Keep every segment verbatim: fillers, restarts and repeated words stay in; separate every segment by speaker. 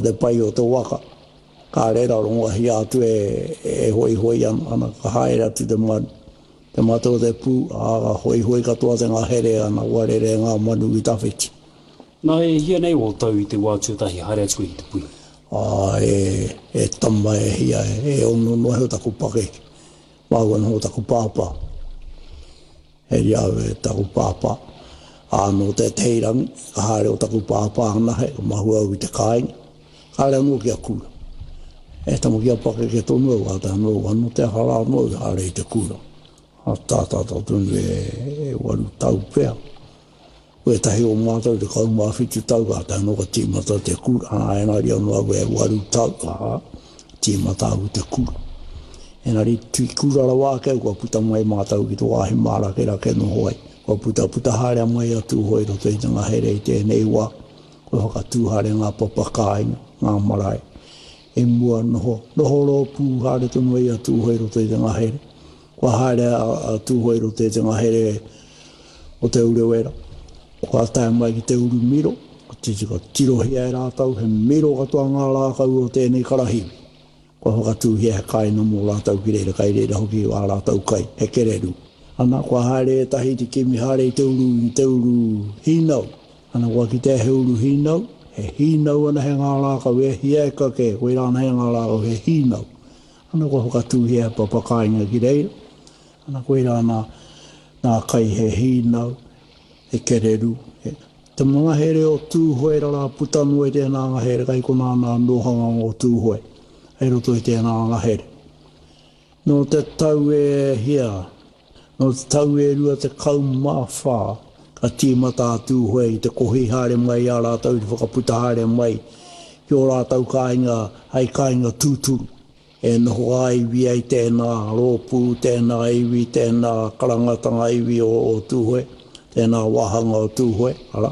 Speaker 1: Te pai o te waka, kāre ra rongohia atu e, e hoihoi ana, ana ka haere atu te manu. Te mata o te pū, ā, ka hoihoi katoa te ngahere ana, warere ngā manu ki tawhiti.
Speaker 2: Nā, e hia nei o tau i te wā tuatahi haere atu i te pui?
Speaker 1: Ā, e, e tama e hia, e ono noa iho taku pakeke. Māua noho taku pāpā. He ria au e taku pāpā. Ā, nō tētehi rangi, ka haere o taku pāpā anahe, ka mahue au i te kāinga. Kāre anō kia kura. E tama kia pakeke tonu au, kātahi anō, anō te aha rā anō i haere i te kura. A tātata tonu e, e waru tau pea. Ko ētahi o mātou tekau mā whitu tau, kātahi anō ka tīmata te kura. Ā, engari anō au e waru tau, ā, tīmata au i te kura. Engari, tui kura rawa ake au, kua puta mai mātou ki te wāhi mārakerake noho ai. Kua puta puta haere mai a Tūhoe i roto i te ngahere i tēnei wā. Kua whakatū haere ngā papa kāinga, ngā marae. I mua noho, noho rōpū haere tonu ai a Tūhoe i roto i te ngahere. Kua haere a, a Tūhoe i roto i te ngahere o Te Urewera. Kua tae mai ki te uru miro, ka tirohia e rātou he miro katoa ngā rākau o tēnei karahiwi. Kua whakatūhia he kāinga mō rātou ki reira, kai reira hoki ā rātou kai, he kererū. Ana, kua haere ētahi te kimi haere i te uru, i te uru hīnau. Ana, kua kitea he uru hīnau, he hīnau ana he ngā rākau, e hia eka kē, koirā ana he ngā rākau, he hīnau. Ana, kua whakatūhia he papa kāinga ki reira. Ana, koirā nā, nā kai he hīnau, he kererū, he. Te ngahere o Tūhoe rarā puta noa i tēnā ngahere, kai konā nā nohanga o Tūhoe, hei roto i tēnā ngahere. Nō te tau e hia, nō te tau e rua tekau mā whā, ka tīmata a Tūhoe i te kohi haere mai i a rātou, i te whakaputa haere mai ki ō rātou kāinga hei kāinga tūturu. E noho ā-iwi ai tēnā rōpū, tēnā iwi, tēnā karangatanga iwi o, o Tūhoe, tēnā wāhanga o Tūhoe, arā,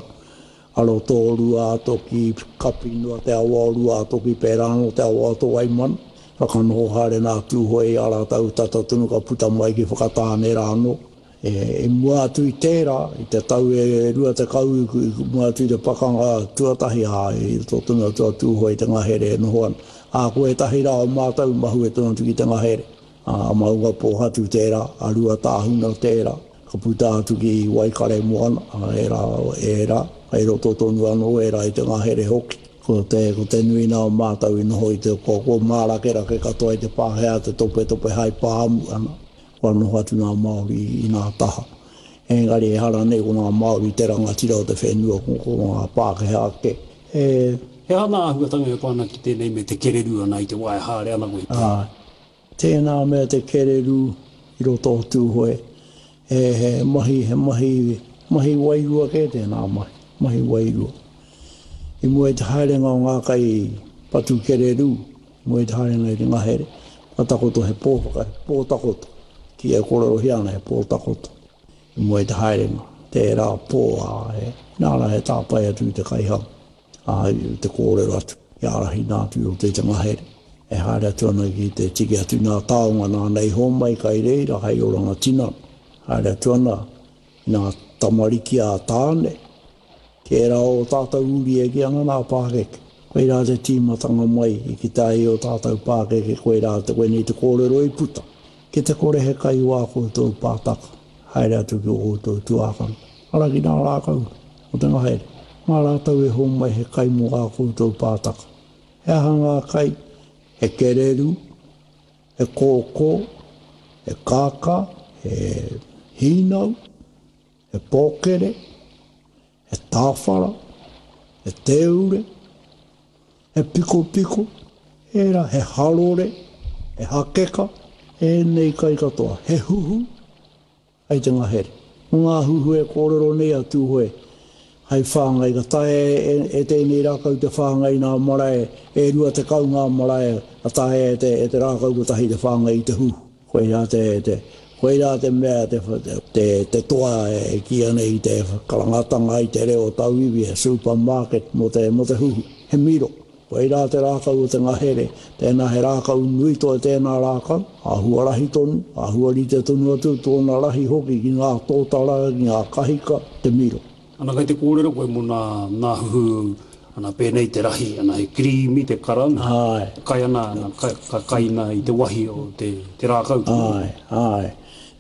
Speaker 1: a roto o Ruātoki, kapi noa te awa o Ruātoki, pērā anō te awa o Tōwaimana. Whakanoho haere nā Tūhoe i a rātou tata tonu ka puta mai ki Whakatāne rā anō. E, i mua atu i tērā, i te tau e rua tekau i, i mua atu i te pakanga tuatahi, ā, i roto tonu atu a Tūhoe i te ngahere e noho ana. Ā, ko ētahi rā o mātou mahue tonu atu ki te ngahere. Ā, a Maungapōhatu tērā, a Ruatāhuna tērā, ka puta atu ki Waikaremoana, ā, ērā, ērā, kei roto tonu anō ērā i te ngahere hoki. Ko te, ko te nui nā o mātou i noho i te, ko, ko mārakerake katoa i te Pākehā te topetope hai pāmu ana. Kua noho atu ngā Māori i ngā taha. Engari ehara nei ko ngā Māori te rangatira o te whenua, ko, ko ngā Pākehā kē. E...
Speaker 2: He aha ngā āhuatanga e pā ana ki tēnei me te kererū ana i te wā e haere ana koe i te.
Speaker 1: Ā, tēnā mea te kererū i roto o Tūhoe, he, he mahi, he mahi, mahi wairua kē tēnā mahi, mahi wairua. I mua i te haerenga o ngā kai patu kererū, i mua i te haerenga i te ngahere, kua takoto he pō whaka, he pō takoto. Ki e kōrerohia ana he pō takoto. I mua i te haerenga, tērā pō, ā, he, nāna he tāpae atu i te kaihanga, ā, i te kōrero atu, i ārahina atu i roto i te ngahere. E haere atu ana ki te tiki atu nā taonga nāna i hōmai kai reira hei oranga tinana. Haere atu ana i nā tamariki a Tāne, Tērā o tātou uri e kī ana nā pākeke. Koirā te tīmatanga mai i kite ai o tātou pākeke, koirā te koinei te kōrero i puta. Ki te kore he kai o ā koutou pātaka, haere atu ki o koutou tuākana. Ara ki nā rākau o te ngahere. Mā rātou e hōmai he kai mō ā koutou pātaka. He aha ngā kai? He kererū, he kōkō, he kākā, he hīnau, he pōkere, he tāwhara, he tēure, he pikopiko, ērā, he harore, he hakeka, ēnei kai katoa, he huhu, hei te ngahere. Ko ngā huhu e kōrero nei a Tūhoe, hei whāngai, ka taea e, e tēnei rākau te whāngai nā marae, e rua tekau ngā marae, ka taea e te, e te rākau kotahi te whāngai i te huhu. Koirā te, te, koirā te mea, te, te, te toa e kīia nei i te karangatanga i te reo tauiwi, he supermarket mō te, mō te huhu, he miro. Koirā te rākau o te ngahere, tēnā he rākau nui toi tēnā rākau, āhua rahi tonu, āhua rite tonu atu tōna rahi hoki ki ngā tōtara, ki ngā kahika, te miro.
Speaker 2: Ana kei te kōrero koe mō nā, nā huhu Ana pēnei te rahi, ana he kirīmi te karanga.
Speaker 1: Āe.
Speaker 2: Kai ana, ana ka, ka kaina i te wahi o te, te rākau.
Speaker 1: Āe, āe.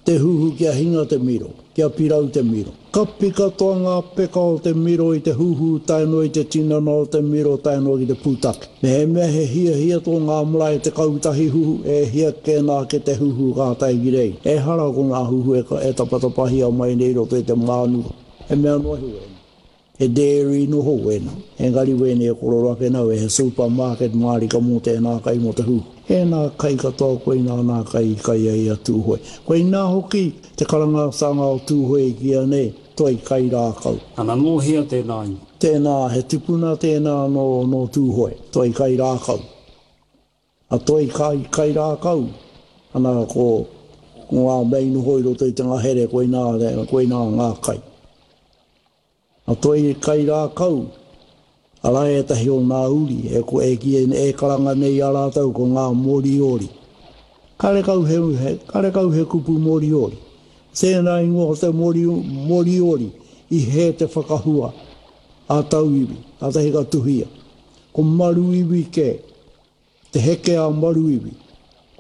Speaker 1: Te huhu kia hinga te miro, kia pirau te miro. Kapi katoa ngā peka o te miro i te huhu tae noa i te tinana o te miro tae noa ki te pūtake. Mehemea he hiahia tō ngā marae tekau tahi huhu, e hia kē nā ke te huhu ka tae ki reira. Ehara ko ngā huhu e, e tapatapahia mai nei i roto i te mānuka. He mea noa iho ēnei. He dairy noho wēnā. Engari wēnei e korero ake nau, he supermarket mārika mō tēnā kai mō te huhu. Ēnā kai katoa koinā nā kai i kai ai a Tūhoe. Koinā hoki te karangatanga o Tūhoe i kīia nei, toi kai rākau.
Speaker 2: Ana nō hea tēnā i?
Speaker 1: Tēnā, he tipuna tēnā nō, nō Tūhoe, toi kai rākau. A toi kai, kai rākau, ana ko, ko ngā mea i noho i roto i te ngahere, koinā, koinā ngā kai. A toi kai rākau, arā ētahi o ngā uri, e, ko, e, ki, e karanga nei a rātou ko ngā Moriori. Karekau he, he, karekau he kupu Moriori. Tēnā ingoa o te mori, Moriori i hē te whakahua a tauiwi, kātahi ka tuhia. Ko Maruiwi kē, te heke a Maruiwi.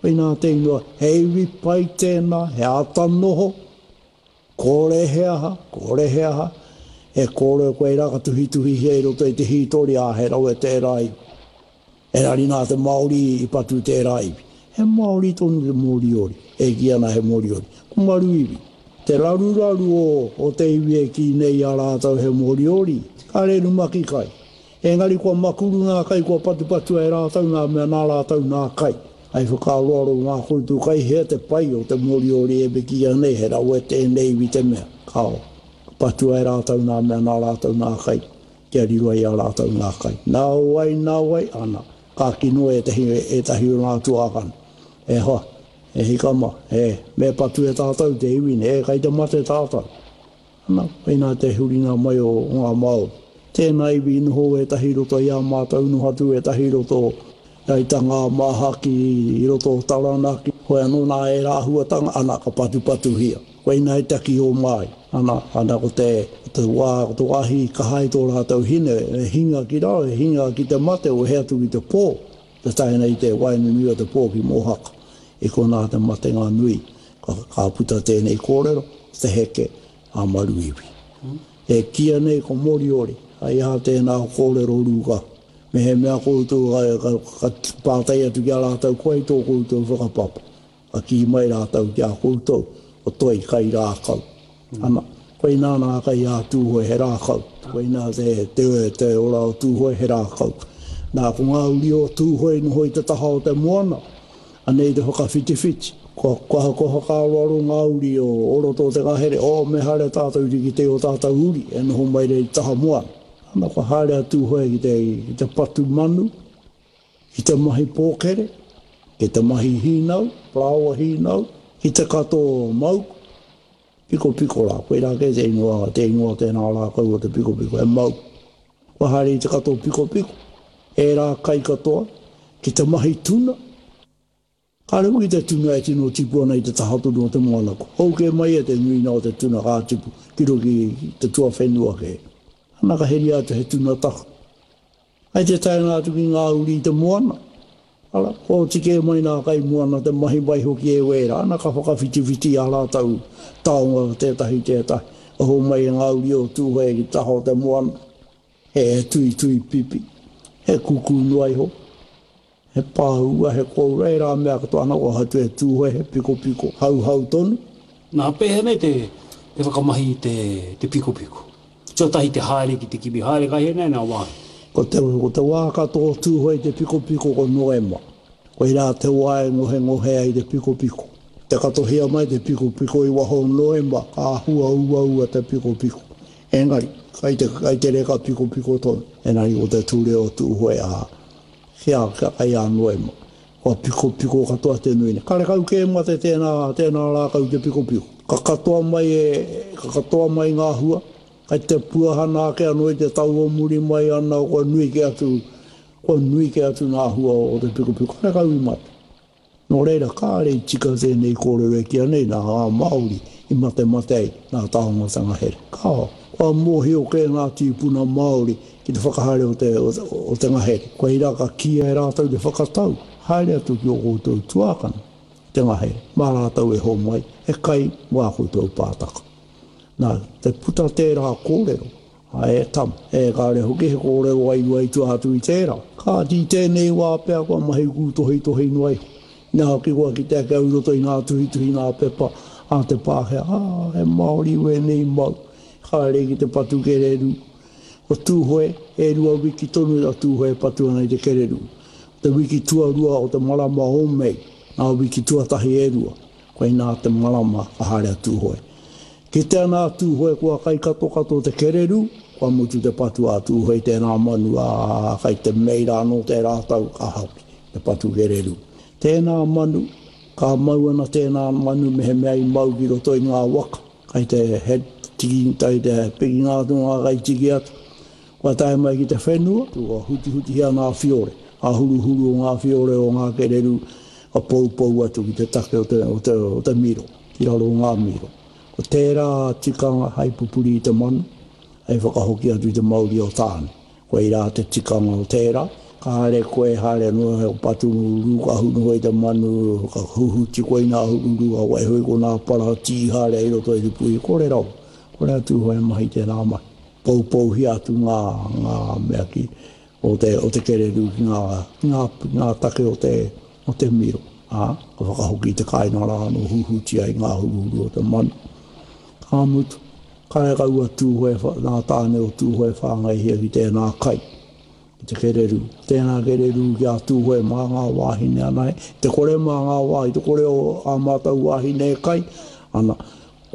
Speaker 1: Koinā te ingoa, he iwi pai tēnā, he āta noho, kore he aha, kore he aha, e kōrero koe rā ka tuhituhihia i roto i te hītori, ā, he rawe tērā iwi. Engari nā te Māori i patu tērā iwi. He Māori tonu te Moriori, e kī ana he Moriori. Ko Maruiwi, te raruraru o, o te iwi e kī nei a rātou he Moriori, kāre rumaki kai. Engari kua makuru ngā kai, kua patupatua e rātou ngā mea nā rātou nā kai. Ai whakaaroaro ngā koutou kai hea te pai o te Moriori e kīia nei, he rawe tēnei iwi te mea. Kao, patua e rātou nā mea nā rātou nā kai, kia riro ai a rātou nā kai. Nā wai, nā wai, ana, ka kino ētahi, ētahi o ngā tuākana. E hoa, e hikama, e, me patu e tātou te iwi nei, e kai te mate tātou. Ana, koinā te huringa mai o, o ngā Māori. Tēnā iwi i noho ētahi roto i a mātou, noho atu ētahi roto Aitanga a Māhaki i roto o Taranaki. Hoi anō nā ērā āhuatanga, ana, ka patupatuhia. Koinā i taki o mai. Ana, ana ko te, ko te wā, ko te wāhi i kaha ai tō rātou hine, e hinga ki raro, e hinga ki te mate, o he atu ki te pō, te tae nei te waenganui o te pō ki Mōhaka. I konā te matenga nui, ka, ka puta tēnei kōrero, te heke a Maruiwi. E kīia nei ko Moriori, ai aha tēnā kōrero rūkahu. Mehemea koutou ka, ka, ka pātai atu ki a rātou, ko ai tō koutou whakapapa? Ka kī mai rātou ki a koutou, ko toi kai rākau. Ana, koinā nā kai a Tūhoe he rākau. Koinā te, te, te ora o Tūhoe he rākau. Nā, ko ngā uri o Tūhoe i noho i te taha o te moana, anei te whakawhitiwhiti. Kua, kua, kua whakaaroaro ngā uri o, o roto o te ngahere, oh, me haere tātou ki te o tātou uri, e noho mai rei taha moana. Ana, kua haere a Tūhoe ki te, ki te patu manu, ki te mahi pōkere, ki te mahi hīnau, parāoa hīnau, ki te kato mauku, pikopiko rā, koirā kē te ingoa, te ingoa tēnā rākau o te pikopiko, he mauku. Kua haere i te kato pikopiko, ērā kai katoa, ki te mahi tuna. Kāre hoki te tuna e tino tipu ana i te taha tonu o te moana. Kua hou kē mai e te nuinga o te tuna ka tipu ki roto ki te tuawhenua kē. Ana ka heria atu he tuna tahu. Ai te taenga atu ki ngā uri i te moana. Ara, kua oti kē mai nā kai moana te mahi mai hoki e wērā. Ana ka whakawhitiwhiti ā rātou taonga tētahi tētahi. Ka homai e ngā uri o Tūhoe ki te taha o te moana. He tuitui pipi, he kuku noa iho. He pāua, he kōura, ērā mea katoa ana kua hoatu e Tūhoe, he pikopiko, hauhau tonu.
Speaker 2: Nā, pēhea nei te, te whakamahi i te, te pikopiko? Tuatahi te haere ki te kimi haere kai hea nei nā wāhi?
Speaker 1: Ko te, ko te wā katoa o Tūhoe i te pikopiko ko Noema. Koirā te wā e ngohengohe ai te pikopiko. Te katohia mai te pikopiko i waho o Noema, ka āhua uaua te pikopiko. Engari, kai te, kai te reka pikopiko tonu. Engari ko te ture o Tūhoe, ā, Kia, kia kai a Noema. Kua pikopiko katoa te nui nei. Karekau kē mate tēnā, tēnā rākau te pikopiko. Ka katoa mai e, ka katoa mai ngā hua, kai te puahana ake anō i te tau o muri mai ana kua nui kē atu, kua nui kē atu ngā hua o te pikopiko. Karekau i mate. Nō reira, kāre i tika tēnei kōrero e kīia nei nā ngā Māori i matemate ai nā taonga here. Kāo, kua mōhio kē ngā tīpuna Māori ki te whakahaere o te, o, o te ngahere. Koirā ka kīia e rātou te whakatau, haere atu ki ō koutou tuākana, te ngahere, mā rātou e homai, he kai mō ā koutou pātaka. Nā, te puta tērā kōrero, a e tama, e kāre hoki he kōrero wairua i tua atu i tērā. Kāti i tēnei wā pea kua mahi kūtohitohi noa iho. Inā hoki kua kite ake au i roto i ngā tuhituhi ngā pepa a te Pākehā, ā, he Māori wēnei mau, haere ki te patu kererū. Ko Tūhoe, e rua wiki tonu a Tūhoe e patu ana i te kererū. Ko te wiki tuarua o te marama o Mei, ngā wiki tuatahi e rua, koinā te marama ka haere a Tūhoe. Kite ana a Tūhoe kua kai katokato te kererū, kua mutu te patu a Tūhoe i tērā manu, ā, kai te Mei rā anō tērā tau ka hoki te patu kererū. Tēnā manu, ka mau ana tēnā manu mehemea i mau ki roto i ngā waka, kai te he tiki, kai te pikinga atu ngā kai tiki atu. Kua tae mai ki te whenua, kua hutihutihia ngā whiore, ngā huruhuru o ngā whiore o ngā kererū, ka poupou atu ki te take o te, o te, o te miro, ki raro o ngā miro. Ko tērā tikanga hai pupuri i te manu, hei whakahoki atu i te mauri o Tāne. Koirā te tikanga o tērā, ka haere koe, haere noa he patu rūkahu noa i te manu, ka huhuti koe i ngā huruhuru, ka waiho i konā para tīhare i roto i te puhi, kore rawa, kore atu hoi mahi tērā mahi. Poupouhia atu ngā, ngā mea ki, o te, o te kererū ki ngā, ki ngā, ngā take o te, o te miro. Ā, ka whakahoki i te kāinga rā anō huhuti ai ngā huruhuru o te manu. Ka mutu, karekau a Tūhoe, ngā tāne o Tūhoe whāngaihia ki tēnā kai, ki te kererū. Tēnā kererū ki a Tūhoe mā ngā wāhine anahe, te kore mā ngā wāhi, te kore o ā mātou wāhine e kai, ana,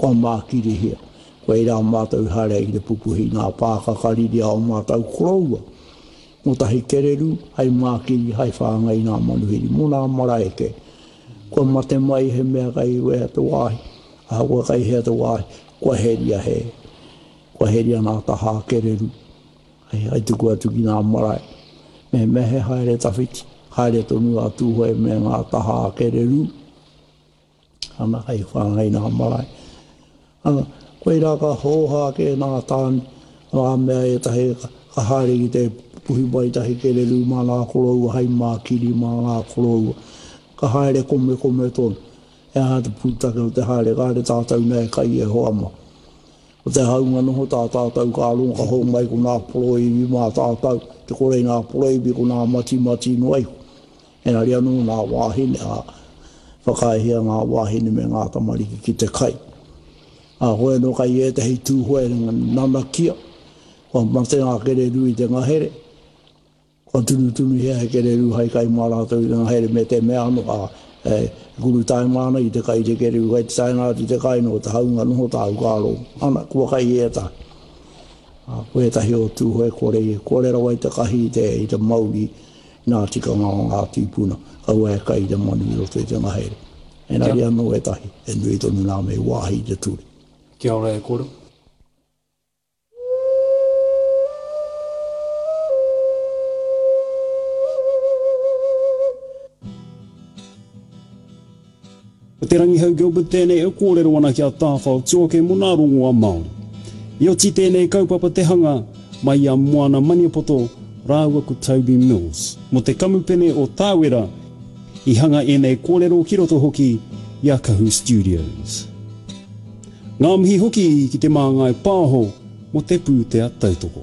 Speaker 1: kua mākirihia. Koirā mātou i haere ai ki te pupuhi ngā pākaka riri a o mātou koroua. Mō tahi kererū, hai mākiri, hai whāngai ngā manuhiri, mō nā marae kē. Kua mate mai he mea kai wea te wāhi, ahakoa kai hea te wāhi, kua heria he, kua heria ngā tahā kererū, hai, hai tuku atu ki ngā marae. Me me he haere tawhiti, haere tonu a Tūhoe me ngā tahā kererū, ana kai whāngai ngā marae. Ana, koirā ka hōhā kē ngā tāne, ngā mea ētahi ka haere ki te puhi mai tahi kererū mā ngā koroua, hai mākiri mā ngā koroua. Ka haere komekome tonu. E aha te pūtake o te haere, ka haere tātou nei kai e hoa mā. Ko te haunga noho tā tātou ka rongo ka hou mai ko ngā poroiwi mā tātou, te kore i ngā poroiwi ko ngā matimati noa iho. Engari anō ngā wāhine, ā, whakaaehia ngā wāhine me ngā tamariki ki te kai. Ā, koe anō kai ētahi Tūhoe nanakia, kua mate ngā kererū i te ngahere, kua tunutunuhia he kererū hai kai mā rātou i te ngahere me te mea anō, ā, e kuru taima ana i te kai te kererū, kai te taenga atu te kai no te haunga noho tāu ka rongo. Ana, kua kai ētahi. Ā, ko ētahi o Tūhoe kore, kore rawa i te kahi i te, i te mauri nā tikanga o ngā tīpuna, kaua e kai i te manu i roto i te ngahere. Engari anō ētahi, e nui tonu nā me wāhi i te ture.
Speaker 2: Kia ora e koro. Ko Te Rangihau Gilbert tēnei e kōrero ana ki a Tāwhao Tuoke mō nā rongoa Māori. I oti tēnei kaupapa te hanga mai i a Moana Maniapoto rāua ko Toby Mills. Mō te kamupene o Tāwera i hanga ēnei kōrero ki roto hoki i a Kahu Studios. Ngā mihi hoki ki te Māngai Pāho mō te pūtea tautoko.